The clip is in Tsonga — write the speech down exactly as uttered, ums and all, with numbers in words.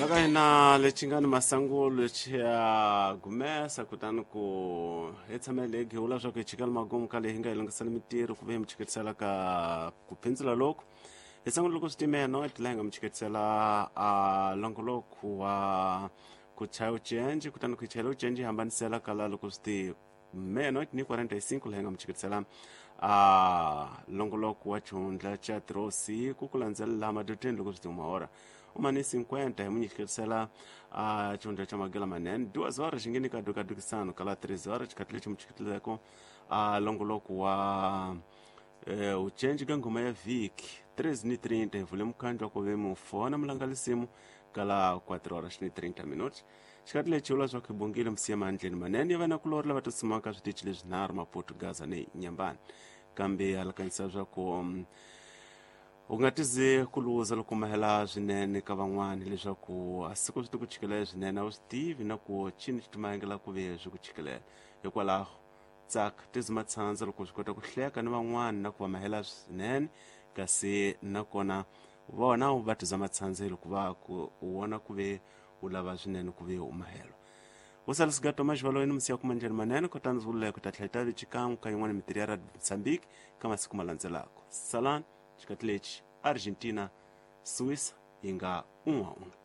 Laka hina lexi nga ni masangulo xi ya gumesa kutani ku hi tshamele hi gehula swa ku hi chikela magumu ka leyi hi nga hi lunghisela mintirho ku ve hi mi chiketisela ka ku phindzula loku hi sangula loko swi timela no la hi nga mi chiketisela a longoloko wa ku chaya ucenji kutani ku chayela ucenji hi hambanisela kala loko swi ti meia-noite ni quarenta e cinco la hi nga mi chiketisela a longoloko wa xihundla xa tirhosiku ku landzelela madoteni loko swi ti uma hora uma ni cinquenta hi munyiketisela a xihundla xa magela manene duas horas xi nge ni ka dukadukisano kala três horas xikhathi lexi mi chiketeleko a longoloko wa eh, ucenji ka nghoma ya vhiki três ni trinta hi vule mukhandlu wa ku ve mufona mulangalisimu kala quatro horas ni trinta minutos xikhathi lexi vula swa ku hi bongile msiya mandleni manene ya vanakulori lava tsutsumaka switichi leswinharhu Maputo, Gaza ni Nyambani kambe alakanyisa swa ku um, u nga tize ku luza loko mahela swinene ka van'wani leswaku a siku swi ti ku chikelela swinene a wu swi tivi na ku chini xi timahengela ku ve swi ku chikelela hikwalaho tsaka tizi matshandza loko swi kota ku hleka ni van'wani na ku va mahela swinene kasi nakona vona va tiza matshandza loko va ku u vona ku ve u lava swinene ku ve u mahelo usalisigato maxivalo ni musiya kuma ndlela manene kutani ndzi vululeko ta tlhela ta xikan'we ka yin'wana mintirho ya Radio Mozambique ka masiku ma landzelaka salani xikati lexi Argentina Suíça yi nga un'we un'we.